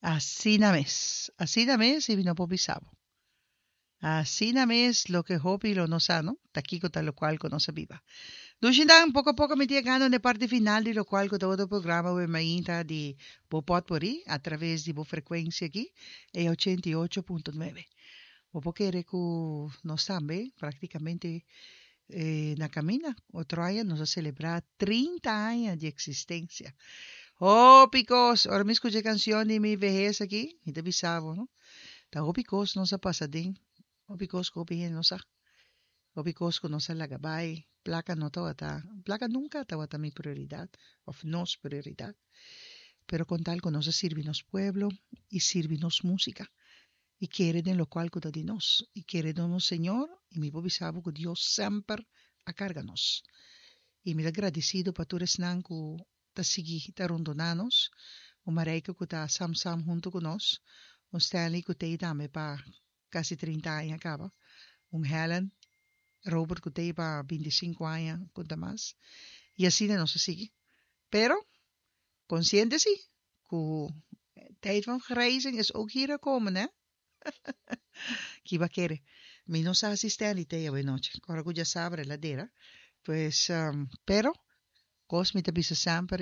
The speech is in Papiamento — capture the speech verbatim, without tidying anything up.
Asina mes. Asina mes i mi no por bisa bo. Asina mes loke hopi lo no sa, no? Ta kiko ta lokual ku nos a biba. Dushindan, poko poko mi ta yegando na e parti final di lokual ku ta otro programa We Mainta di bo Potpourri a traves di bo frekuensia aki, e ochenta i ocho punto nuebe. Bo por kere ku nos tambe praktikamente na kaminda. Otro aña nos a selebrá trinta aña di eksistensia. Hopi kos! Ora mi skucha e kanshon di mi vehes aki, mi ta bisa bo, no? Ta hopi kos nos a pasa den, hopi kos ku hopi hende no sa, hopi kos ku nos a laga bai. Plaka no tabata, plaka nunka tabata mi prioridat òf nos prioridat, pero kon tal ku nos a sirbi nos pueblo i sirbi nos músika i kere den lokual ku ta di nos i kere den nos Señor i mi por bisa bo ku Dios semper a karga nos i mi ta gradisido pa tur esnan ku ta sigui ta rondoná nos, un Marijke ku ta sam sam huntu ku nos, un Stanley ku t'ei tambe pa kasi trinta aña kaba, un Helen, Robert ku t'ei pa binti sinku aña ku ta mas, i asina nos a sigui. Pero, konsiente si ku tijd van vergrijzing is ook hier gekomen, hè? Kiba kere? Mi no sa si Stanley t'ei awenochi, kòrda ku djasabra el a dera. Pues, pero, kos mi ta bisa semper.